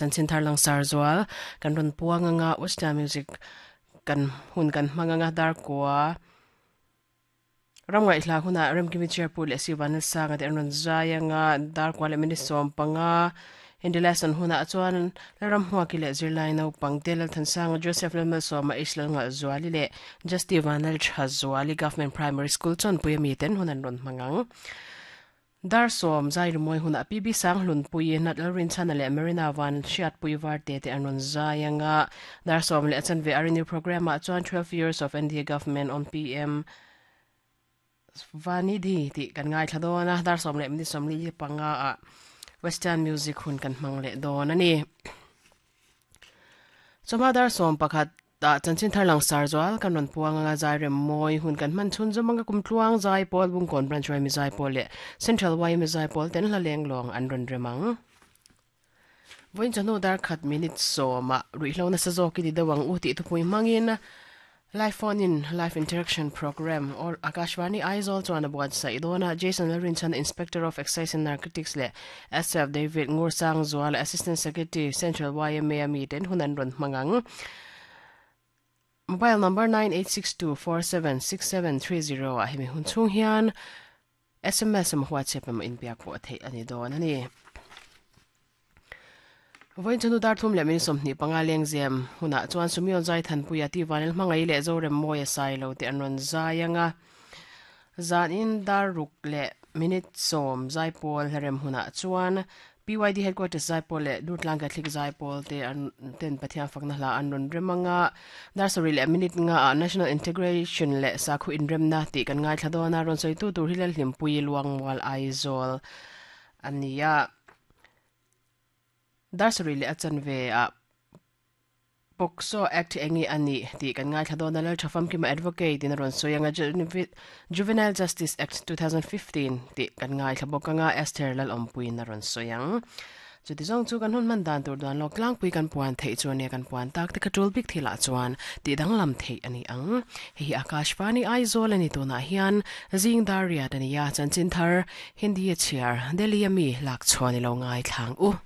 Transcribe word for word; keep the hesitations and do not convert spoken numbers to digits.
Chanchin thar langsar zual kan rawn puang anga Western music kan hun kan hmang anga dar kua ramngai hla huna remkimi chairpur leh sivan sanga te an rawn zai anga dar kua leh minute sawm panga Hindi lesson huna chuan ram hmuaki leh zirlai naupang te Lalthansanga Joseph Lalmalsawma H Lalnga Zuali leh Justy Vanal Tha Zuali Government Primary School chawnpui ami ten hun an rawn hmang ang. Dar sawm zai rimawi huna P B Sanghlun pui Nat Lalrinchhana leh Marina Van Hriatpui Varte te an rawn zai anga dar sawm leh a chanve a renew program ah chuan twelve years of N D A government on P M Vanidhi tih kan ngaithla dawn a dar sawm leh minute sawmli panga ah Western music hun kan hmang leh dawn a ni. Chawhma dar sawm pakhat ah chanchin thar langsar zual kan rawn puang anga zai rem mawi hun kan hman chhun zawm anga kum tluang zai pawl Bungkawn Branch Y M A zai pawl leh Central Y M A zai pawl ten hla leng lawng an rawn rem ang. Vawiin chawhnu dar khat minute sawm ah ruihhlo nasa zawk i ti deuh ang u tih thupui hmangin Live phone in live interaction program or Akashvani Aizawl chuan a buatsaih dawn a, Jason Lalrinchhan Inspector of Excise and Narcotics leh S F David Ngursang Zuala Assistant Secretary Central Y M A ami ten hun an rawn hmang ang. Mobile number nine eight six two four seven six seven three zero ah hemi hun chhung hian S M S emaw WhatsApp emaw inbiak pawh a theih a ni dawn a ni. Vawiin chawhnu dar thum leh minute sawmhnih panga lengzem hunah chuan Sumion zai Thanpuia Tivanel hmangaih leh Zorem Mawia sai lo te an rawn zai anga zanin dar ruk leh minute sawm zai pawl hlarem hunah chuan P Y D headquarters zai pawl leh Durtlang Catholic zai pawl te an ten Pathian fakna hla an rawn rem anga dar sarih leh minute nga ah National Integration leh Sakhu Inremna tih kan ngaithla dawn a rawn sawitu tur hi Lalhlimpui Luangmual Aizawl a ni a. Dar sarih leh a chanve ah POCSO Act eng nge a nih tih kan ngaithla dawn a, Laltha Famkima Advocate in a rawn sawi anga Juvenile Justice Act two thousand fifteen tih kan ngaithla bawk anga Esther Lalawmpuiin a rawn sawi ang. Chuti zawng chu kan hun hman dan tur duan lawk tlangpui kan puan theih chu ania kan puan tak te kha tul bik thilah chuan tih danglam theih a ni ang. Hei hi Akashvani Aizawl a ni tunah hian zing dar riat a ni a, chanchin thar Hindi a chhiar Delhi a mi lak chhuah ni lo ngaithlang u.